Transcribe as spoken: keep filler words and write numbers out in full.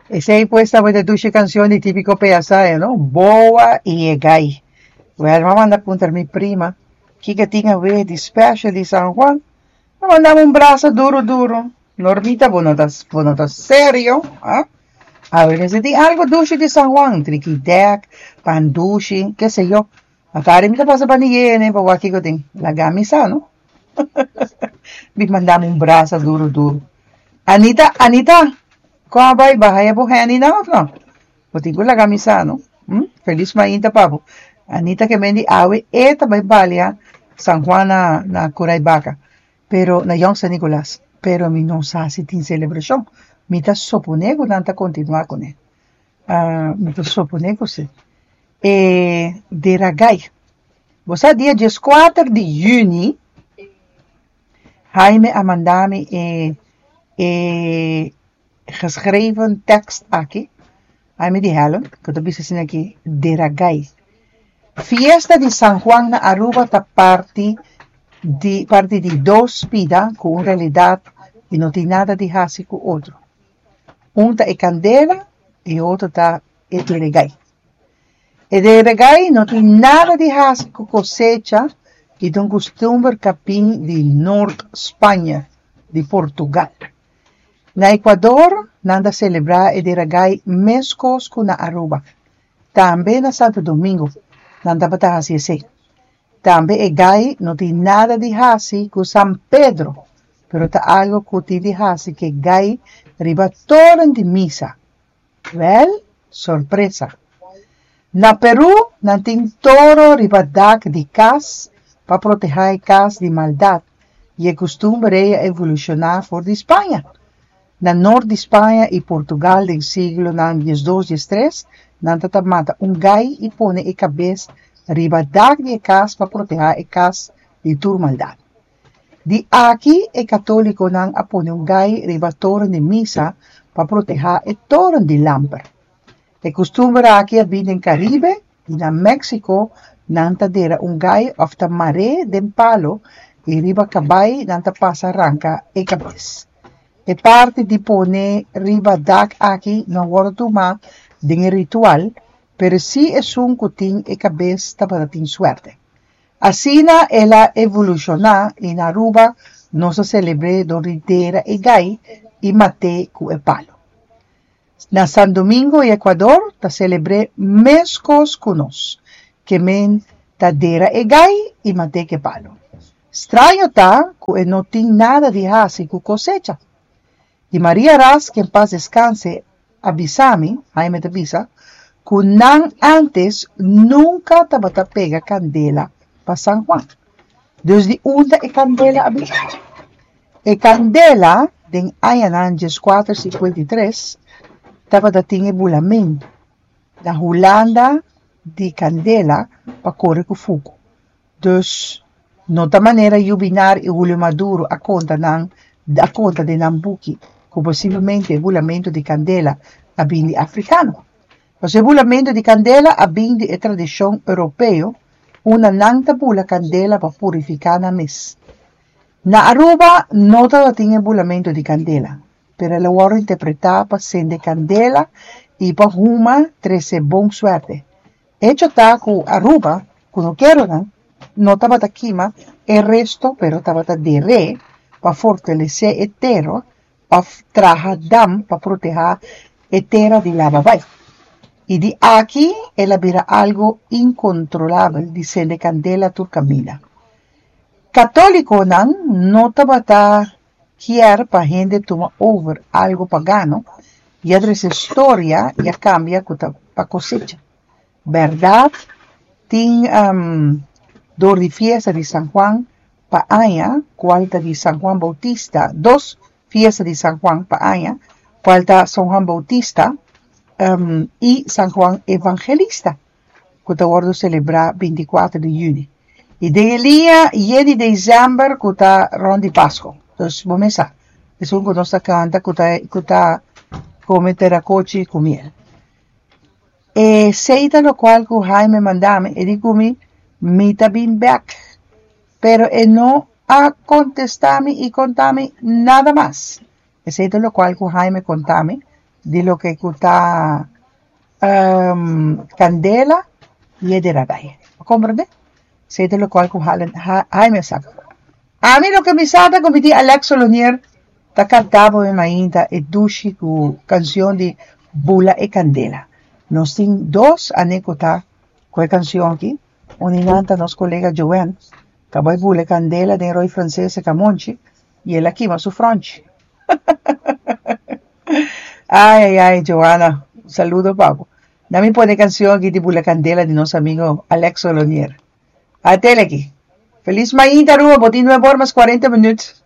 Esey pues tabata dushi cancion di Tipico P S A, no? Boa y e Gai. Wel, m'a manda puntra mi prima kico tin awe di special di San Juan. M'a manda un brasa duro duro. Normita, bo no ta, bo no ta serio, ah? Awe tin algo dushi di San Juan, trikidek, pan dushi, ke sé yo. Atari mi ta pasa pa ni pa wak kico tin. Laga mi sa, no? Mi manda un brasa duro duro. Anita, Anita, con a bay? B'a haya bo Henny na of no? Bo tin cu laga mi sa, no? Hm? Feliz mainta pa bo. Anita ke men di awe e ta bay balia San Juan na, na Curaibaka. Pero na Jong San Nicolas. Pero mi no sa si tin celebracion. Mi ta supone cu nan ta continua cu ne. Uh, mi ta supone cu si. E dera gai. Bo sa dia diescuater di juni, Jaime a manda mi e, e geschreven tekst aki. Jaime di Helen, cu ta bisa asina aki, dera gai. Fiesta di San Juan na Aruba ta parti di parti di dos pida cu en realidad e no tin nada di haci cu otro. Un ta e candela y otro ta e dera gai. E dera gai no tin nada di haci cu cosecha y ta un custumber cu a bin di Noord Spanje, di Portugal. Na Ecuador, nan ta celebra e dera gai mescos cu na Aruba. Tambe na Santo Domingo, nan tabata haci esey. Tambe e gai no tin nada di haci cu San Pedro, pero ta algo cu tin di haci cu gai riba toren di misa. Wel, sorpresa. Na Peru, nan tin toro riba dak di cas pa proteha e cas di maldad. Y e custumber a evoluciona for di Spaña. Na noord di Spaña y Portugal den siglonan diesdos, diestres, nan tabata mata un gai y pone e cabes riba dak di cas pa proteha e cas di tur maldad. Di aki e catoliconan a pone un gai riba toren di misa pa proteha e toren di lamper. E custumber aki a bin den Caribe y na Mexico nan ta dera un gai of ta mar'e den palo y riba cabay nan ta pasa ranca e cabes. E parti di pone riba dak aki no a wordo tuma den ritual, pero si esun cu tin e cabes tabata tin suerte. Asina el a evoluciona y na Aruba nos ta celebra door di dera e gai y mat'e cu e palo. Na San Domingo y Ecuador ta celebra mescos cu nos, ke men ta dera e gai y mat'e cu palo. Straño ta cu e no tin nada di haci cu cosecha. Y Maria Ras, que en paz descanse, a bisa mi, Jaime ta bisa, cu nan antes nunca tabata pega candela pa San Juan. Dus di unda e candela a bin? E candela, den añanan diescuater cincuenta y tres, tabata tin e bulamento. Na Hulanda di candela pa core cu fuego. Dus no ta manera Jubinar y Julio Maduro a conta nan a conta den nan buki, cu posiblemente e bulamento di candela a bin di africano. Mas e bulamento di candela a bin di e tradicion europeo, unda nan ta bula candela pa purifica nan mes. Na Aruba no tin e bulamento di candela, pero el a wordo interpreta pa cende candela y pa huma trece bon suerte. Hecho ta cu Aruba, cunukeronan, no tabata kima e resto, pero tabata der'e pa fortalece e tera of traha dam pa proteha e tera di laba bay. Y di aki el a bira algo incontrolabel di cende candela tur caminda. Catoliconan no tabata kier pa hende tuma over algo pagano y a trece historia y a cambia cu pa cosecha. Berdad, tin um, door di fiesta di San Juan pa aña, cual ta di San Juan Bautista, dos fiesta di San Juan pa aña, cual ta San Juan Bautista um, y San Juan Evangelista, cu ta wordo celebra binticuater di juni. Y den dia yen di december, cu ta rond di Pasco. Dus, bo sa, esun cu nos ta canta, cu ta, cu ta come teracochi cu miel. Esey ta locual cu Jaime a manda mi, e di cu mi, mi ta bin back. Pero e no a contesta mi y conta mi nada mas. Esey ta locual cu Jaime a conta mi. di loke ku ta um, kandela i e deragai. Komprondé? Esei ta lokual ku Jaime a saka. Ami loke mi sa ta ku mi tin Alex Solonier ta kanta bo mi mainta e dushi ku kanshon di Bula e Kandela. Nos tin dos anekdota ku e kanshon aki. Un di nan ta nos kolega Joanne, ku a bai bula e kandela den Rooi Franses e Kamonchi i el a kima su fronchi. Ai, ai, ai, Joanna, un saludo pa bo. Laga mi pone e kanshon aki di Bula Kandela di nos amigu Alex Solonier. At'é aki. Felis mainta, Aruba, bo tin nuebe or mas kuarenta minüt.